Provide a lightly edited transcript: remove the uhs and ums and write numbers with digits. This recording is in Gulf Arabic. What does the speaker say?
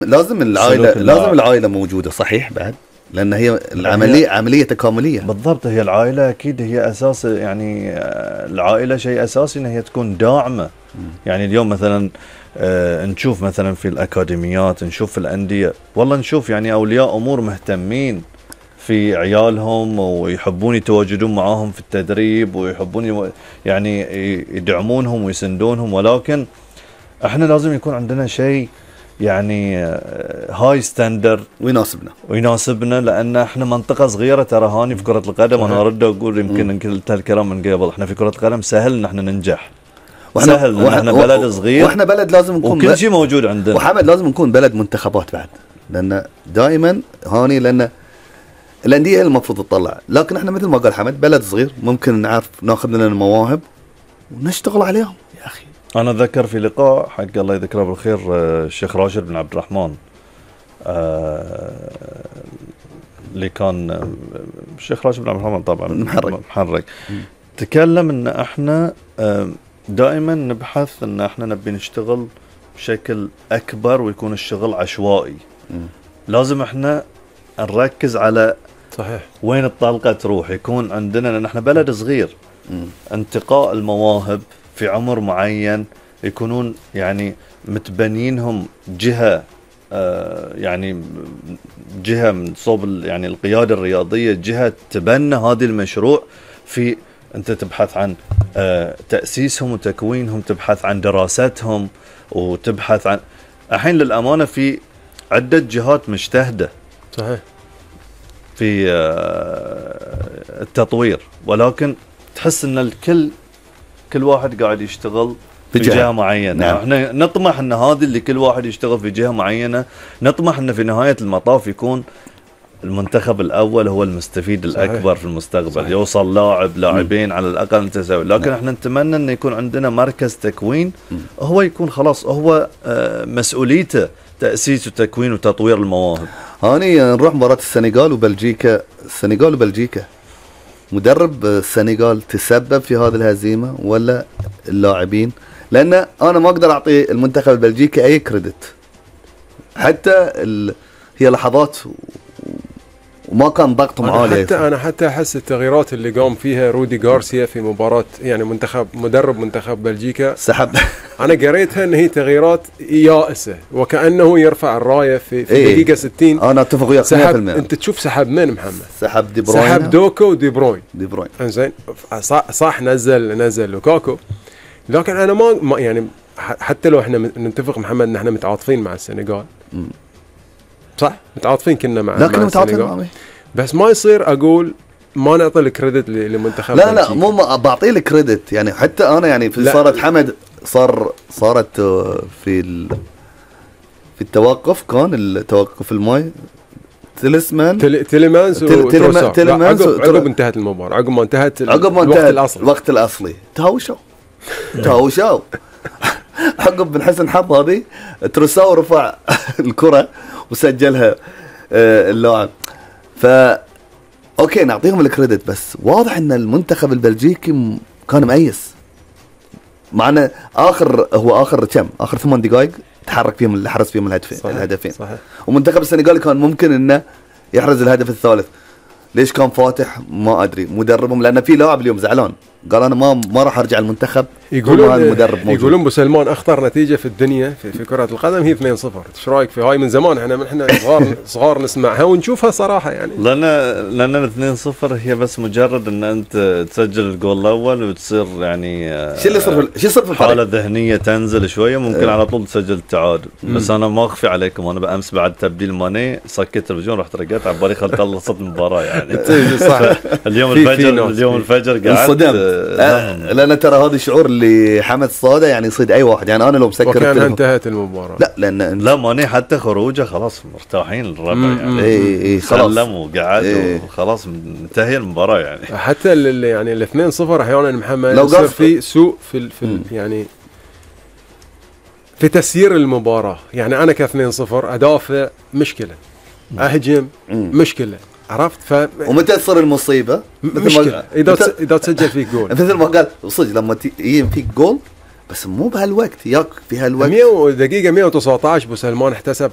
لازم العائلة موجودة صحيح بعد، لأن هي العملية عملية تكاملية. بالضبط، هي العائلة أكيد هي أساس، يعني العائلة شيء أساسي إن هي تكون داعمة. يعني اليوم مثلا نشوف مثلا في الأكاديميات، نشوف في الأندية، والله نشوف يعني أولياء أمور مهتمين في عيالهم ويحبون يتواجدون معاهم في التدريب ويحبون يعني يدعمونهم ويسندونهم، ولكن احنا لازم يكون عندنا شيء يعني هاي ستاندر ويناسبنا، لان احنا منطقه صغيره ترى هاني في كره القدم. انا ارد اقول يمكن قلت هالكلام من قبل، احنا في كره القدم سهل ان احنا ننجح، سهل ان احنا بلد صغير، واحنا بلد لازم نكون وكل شيء موجود عندنا. وحمد لازم نكون بلد منتخبات بعد، لان دائما هاني لان الانديه هي المفروض تطلع، لكن احنا مثل ما قال حمد بلد صغير، ممكن نعرف ناخذ لنا المواهب ونشتغل عليهم. يا اخي انا اتذكر في لقاء حق الله يذكره بالخير الشيخ راشد بن عبد الرحمن، اللي كان الشيخ راشد بن عبد الرحمن طبعا محرك، تكلم ان احنا دائما نبحث ان احنا نبي نشتغل بشكل اكبر ويكون الشغل عشوائي. لازم احنا نركز على صحيح وين الطلقة تروح، يكون عندنا، لان احنا بلد صغير، انتقاء المواهب في عمر معين يكونون يعني متبنينهم جهة يعني جهة من صوب يعني القيادة الرياضية، جهة تبنى هذا المشروع. في انت تبحث عن تأسيسهم وتكوينهم، تبحث عن دراستهم، وتبحث عن الحين للأمانة في عدة جهات مجتهدة صحيح في التطوير، ولكن تحس ان كل واحد قاعد يشتغل في جهة معينة. نعم. احنا نطمح ان هذه اللي كل واحد يشتغل في جهة معينة، نطمح ان في نهاية المطاف يكون المنتخب الاول هو المستفيد الاكبر في المستقبل. صحيح. يوصل لاعبين على الاقل متساوي، لكن نعم. احنا نتمنى ان يكون عندنا مركز تكوين هو يكون خلاص هو مسؤوليته تأسيس وتكوين وتطوير المواهب. هاني نروح مباراة السنغال وبلجيكا، مدرب السنغال تسبب في هذه الهزيمة ولا اللاعبين؟ لأن أنا ما أقدر أعطي المنتخب البلجيكي أي كريدت، حتى هي لحظات وما كان ضغطهم عالي. حتى أحس التغييرات اللي قام فيها رودي غارسيا في مباراة يعني مدرب منتخب بلجيكا سحب أنا قريتها أن هي تغييرات يائسة، وكأنه يرفع الراية في دقيقة 60. أنا أتفق وياك 100%. أنت تشوف سحب من محمد؟ سحب دي بروين، سحب دوكو ودي بروين. إنزين صح نزل لوكاكو، لكن أنا ما يعني حتى لو احنا نتفق محمد ان احنا متعاطفين مع السنغال، صح متعاطفين كنا مع السنغال، بس ما يصير اقول ما نعطي الكريدت لمنتخب. لا مو بعطيه الكريدت، يعني حتى انا يعني في صارت حمد صارت في التوقف، كان التوقف الماي تيليمانس عقب انتهت المباراة، عقب ما انتهت الوقت الأصلي تهاوشوا عقب بن حسن حظ هذه تروساو رفع الكرة وسجلها اللاعب. اوكي نعطيهم الكريدت، بس واضح ان المنتخب البلجيكي كان مؤيس معنا. اخر 8 دقائق تحرك فيهم اللي حرز فيهم الهدفين. صحيح. ومنتخب السنغال كان ممكن انه يحرز الهدف الثالث. ليش كان فاتح ما ادري مدربهم، لان في لاعب اليوم زعلان قال انا ما راح ارجع المنتخب. يقولون ابو سلمان اخطر نتيجه في الدنيا في كره القدم هي 2-0. ايش رايك في هاي؟ من زمان احنا صغار نسمعها ونشوفها صراحه، يعني لان 2-0 هي بس مجرد ان انت تسجل الجول الاول وتصير يعني شو يصير في حاله ذهنيه تنزل شويه، ممكن على طول تسجل التعادل. بس انا ما اخفي عليكم، انا بامس بعد تبديل ماني سكت التلفزيون رحت رقيت على بالي خلصت المباراه يعني. صح. اليوم الفجر قعدت لأن ترى هذا الشعور اللي حمد صاده يعني يصيد أي واحد. يعني أنا لو مسكر وكان انتهت المباراة. لا ماني حتى خروجه خلاص مرتاحين الربع يعني. اي سلم وقعد وخلاص منتهي المباراة يعني. حتى يعني 2-0 أحيانا محمد يصير في سوء في يعني في تسيير المباراة. يعني أنا ك2-0 أدافع مشكلة، أهجم مشكلة، عرفت؟ ومتى تصير المصيبة؟ مشكلة إذا تسجل فيك جول. مثل ما قال صدق لما يجي فيك جول بس مو بهالوقت، ياك في هالوقت 100 دقيقة 119 ابو سلمان احتسب